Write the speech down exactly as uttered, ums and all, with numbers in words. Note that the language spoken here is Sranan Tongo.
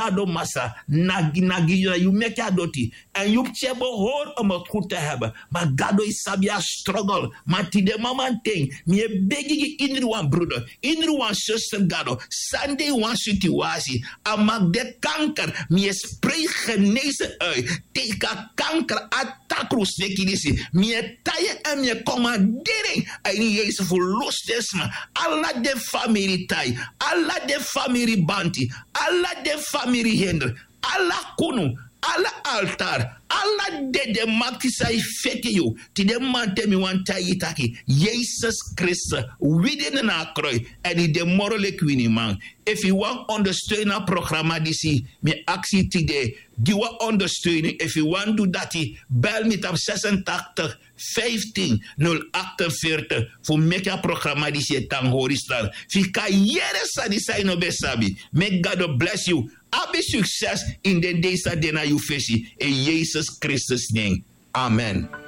a don masra. Nagi nagi na yu meki a doti. Èn yu pikin e behori om a gudu te heben. Ma gado e sabi a strogel. Ma tide mamanten mi e begi gi indri wan bruder, indri wan suster gado, san de yu wan situasi. A maki de kanker, mi e sprei genese uit. Teki a kanker a takru sneki disi. Mi e tai en èn mi e komanderi en a ini yesus fu lusu den sma. Ala den famiri tai, ala den famiri banti, ala den famiri hinder, ala kunu, ala altar, ala dede makti san e feki yu. Tide mamanten mi wani taigi yu taki yesus kristus wini de na a kroi. Èn yu de moro leki winiman. Efu yu wani ondersteun a programa disi, mi e aksi yu tide gi wan ondersteuning. Efu yu wani du dati, bel mi tapu sesentachtig vijftien nul achtenveertig fu meki a programa disi e tan hori stan. Fu yu kan yere sani san yu no ben sabi. Meki gado blesi yu. Abi sukses ini den dei san de na yu fesi. In yesus kristus nen. Amen.